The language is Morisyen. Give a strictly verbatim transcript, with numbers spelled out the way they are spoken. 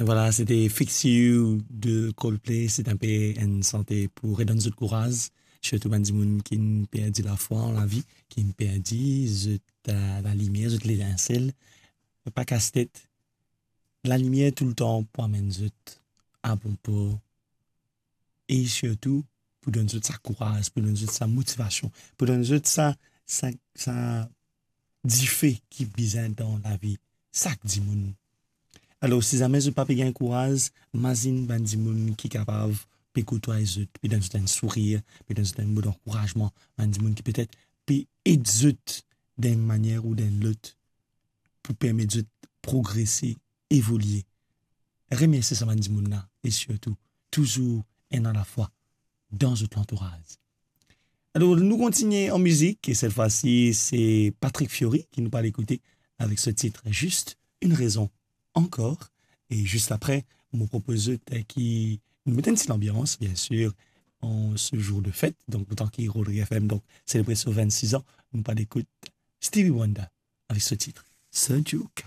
Voilà, c'était Fix You de Coldplay. C'est un peu une santé pour redonner de courage, surtout bann dimoun ki perdi la foi an lavi, ki perdi zot, euh, lalimier, zot letinsel. Pa kas tet, lalimier toultan pou amenn zot a bon por. E sirtou, pou donn zot sa kouraz, pou donn zot sa motivasion, pou donn zot sa, sa, sa dife ki bizin dan lavi sak dimoun. Alor, si zame zot pa pe gagn kouraz, mazinn bann dimoun ki kapav pe koutway zot, pe donn zot enn sourir, pe donn zot enn mo dankourazman, bann dimoun ki petet pe ed zot dan enn manier ou dan enn lot pou permet zot progrese, evolie. Remersie sa bann dimoun la, e sirtou, touzour ena lafwa dan zot lantouraz. Alor, nou kontigne an mizik, e cette fois-ci, c'est Patrick Fiori ki nou pe al ekoute avek so tit Juste une raison encore. E zis apre, mo propoz zot, euh, ki nou met enn ti lanbians, bien sûr, an se zour de fet. Donk, letan ki Rodriguez FM, donk, selebre so vennsis an, nou pe al ekout Stevie Wonder avek so tit Sir Duke.